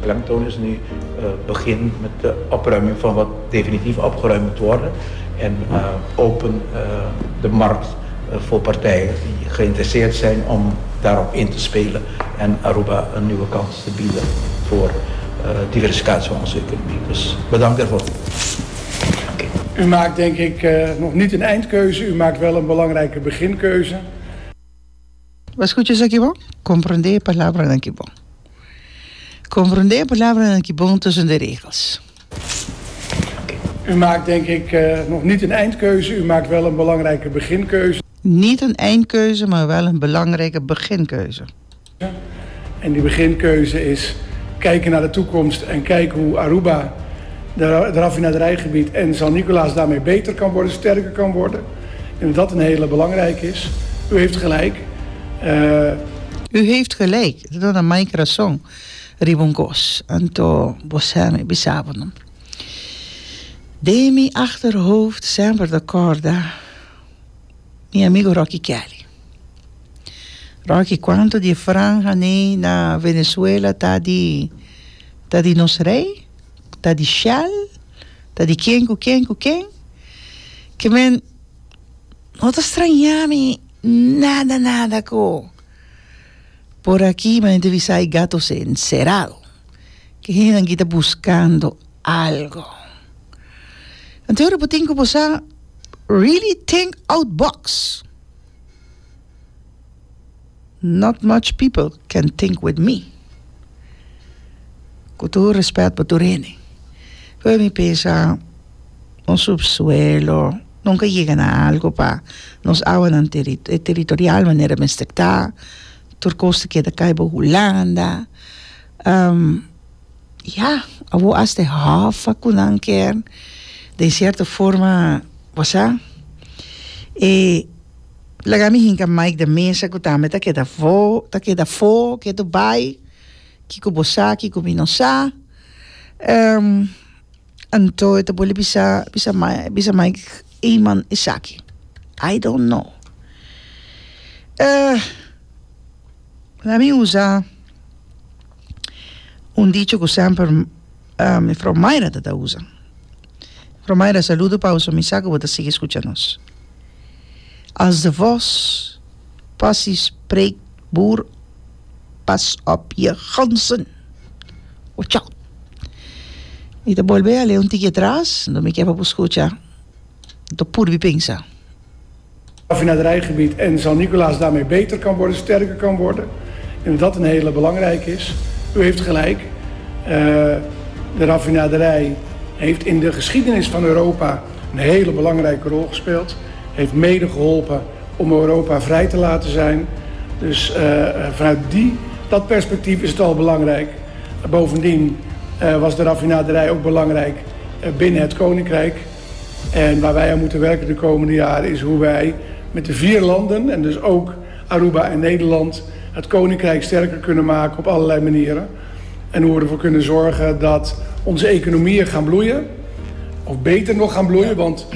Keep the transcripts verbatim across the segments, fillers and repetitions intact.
Beklemtoon is nu uh, begin met de opruiming van wat definitief opgeruimd moet worden. En uh, open uh, de markt voor partijen die geïnteresseerd zijn om daarop in te spelen. En Aruba een nieuwe kans te bieden voor diversificatie van onze economie. Dus bedankt daarvoor. Okay. U maakt, denk ik, nog niet een eindkeuze. U maakt wel een belangrijke beginkeuze. Bo a skucha esaki bon? Komprondé e palabranan aki bon. Komprondé e palabranan aki bon tussen de regels. U maakt, denk ik, nog niet een eindkeuze. U maakt wel een belangrijke beginkeuze. Niet een eindkeuze, maar wel een belangrijke beginkeuze. En die beginkeuze is kijken naar de toekomst en kijken hoe Aruba, de, de raffinaderijgebied en San Nicolaas daarmee beter kan worden, sterker kan worden. En dat een hele belangrijke is. U heeft gelijk. Uh, U heeft gelijk. Dat is Mike rason riba un kos. Anto bo sa mi bisa bo no. Den mi achterhoofd semper ta korda mi amigo Rocky Kelly. Rocky, kuantu di e franja nei na Venezuela ta di ta di nos rey? Ta di Shell? Ta di ken ku ken ku ken? Ke men no ta straña mi nada nada ku por aki mi a entrevista hay gatos encerrado. Ke hendenan aki ta buskando algo. Anto ora bo tin ku bo sa really think out box. Not much people can think with me. Ku tur respet pa tur hende. Pero mi pensa un subsuelo nunca yega na algo pa nos awanan territorial manera mester ta. Tur kos ta keda kai bo Hulanda. Ya, awor hasta e hòf ku nan kier den sierto forma, bo sa. E laga mi hinka Mike de Meza ku tambe ta keda afó, ta keda afó, ketu bai, kiko bo sa, kiko mi no sa. Anto e ta bolbe bisa, bisa bisa Mike Eman esaki. I don't know. Laga mi usa un dicho ku semper mefrou Mayra ta ta usa. Mefrou Mayra, saludo pa boso, mi sa ku bo ta sigui skucha nos. Als de vos passie spreekt, boer, pas op je ganzen. Watch out. Mi ta bolbe a lei un tiki atras, no mi ke pa bo skucha, mi ta purbi pensa. Raffinaderijgebied en San Nicolaas daarmee beter kan worden, sterker kan worden. En dat een hele belangrijke is. U heeft gelijk. Uh, de raffinaderij heeft in de geschiedenis van Europa een hele belangrijke rol gespeeld. Heeft mede geholpen om Europa vrij te laten zijn. Dus uh, vanuit die, dat perspectief is het al belangrijk. Bovendien uh, was de raffinaderij ook belangrijk binnen het Koninkrijk. En waar wij aan moeten werken de komende jaren is hoe wij met de vier landen, en dus ook Aruba en Nederland, het Koninkrijk sterker kunnen maken op allerlei manieren. En hoe we ervoor kunnen zorgen dat onze economieën gaan bloeien. Of beter nog gaan bloeien, want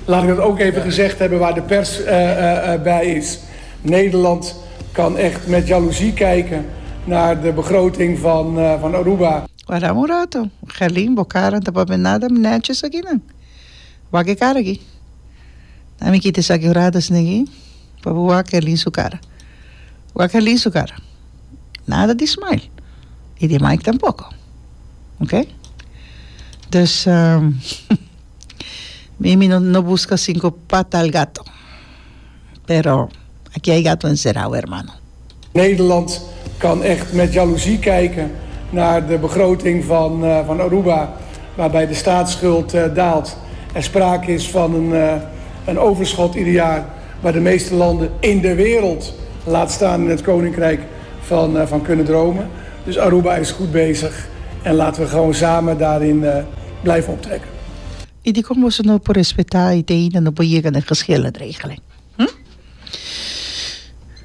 laat ik dat ook even gezegd hebben waar de pers uh, uh, bij is. Nederland kan echt met jaloezie kijken naar de begroting van, uh, van Aruba. Wara un rato, Gerlin, bo kara ta papia nada netjes akinan. Wak e kara aki. Na mi kita esaki un rato asina aki pa bo wak Gerlin su kara. Wak Gerlin su kara. Nada di smile. Y di Mike tampoco. Ok? Dus mi mi no no busca cinco pata al gato. Pero aki hay gato encerrado, hermano. Nederland kan echt met jaloezie kijken naar de begroting van, uh, van Aruba, waarbij de staatsschuld uh, daalt. Er sprake is van een, uh, een overschot ieder jaar, waar de meeste landen in de wereld, laat staan in het Koninkrijk, van, uh, van kunnen dromen. Dus Aruba is goed bezig en laten we gewoon samen daarin uh, blijven optrekken. I dikon boso no por respetá i te ainda no por yega na geschillenregeling? Hm?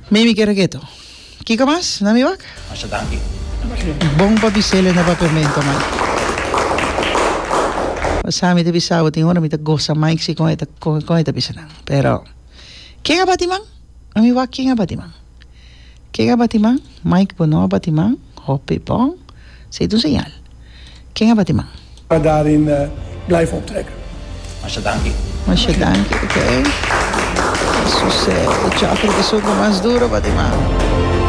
Mimi kier a keto. Kiko mas? Na mi wak? Masha danki. Bon pa bisele na papiamento, Mike. Sa mi ta bisa bo tin ora mi ta gosa Mike si kon e ta kon e ta bisa nan. Pero ken a bati man? A mi wak ken a bati man. Ken a bati man? Mike bo no a bati man. Hopi bon. Esei ta un señal. Ken a bati man? Daarin uh, blijven optrekken. Masha danki. Masha danki, oké. Okay. E chofer ku mas duru bati man.